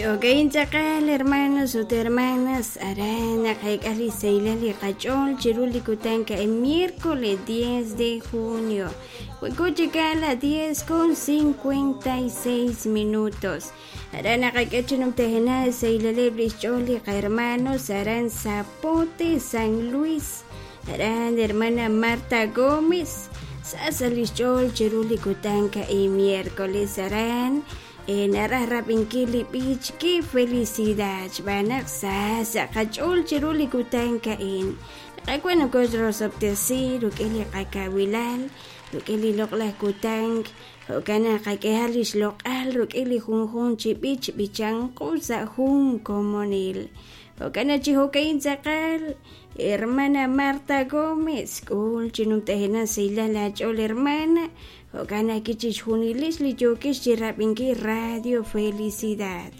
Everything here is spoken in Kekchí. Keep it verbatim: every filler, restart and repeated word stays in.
Jo'ka'in tz'aqal hermanos ut hermanas aran naqeek'a li sahilal li qach'ool chiru li kutan ka'in miércoles diez de junio wanko chik a la diez con cincuenta y seis minutos aran naqak'e chi numtajenaq sahilaleb' li xch'ool li qahermanos aran Zapote San Luis aran hermana Marta Gómez sa sa' li xch'ool chiru li kutan ka'in miércoles aran naraj rab'inkil li b'ich Qué felicidad xb'aan naq sa sa' qach'ool chiru li kutan ka'in Qaawa' nokoxrosob'tesi rik'in li qakawilal rik'in li loq'laj kutan jo'kan naq qak'ehaq li xloq'al rik'in li junjunq chi b'ich b'ichanqu sa' jun komonil jo'kan naq chi jo'ka'in tz'aqal hermana Marta Gómez k'ul chi numtajenaq sahilal aach'ool hermana jo'kan naq chixjunilix li yookix chi rab'inkil Radio Felicidad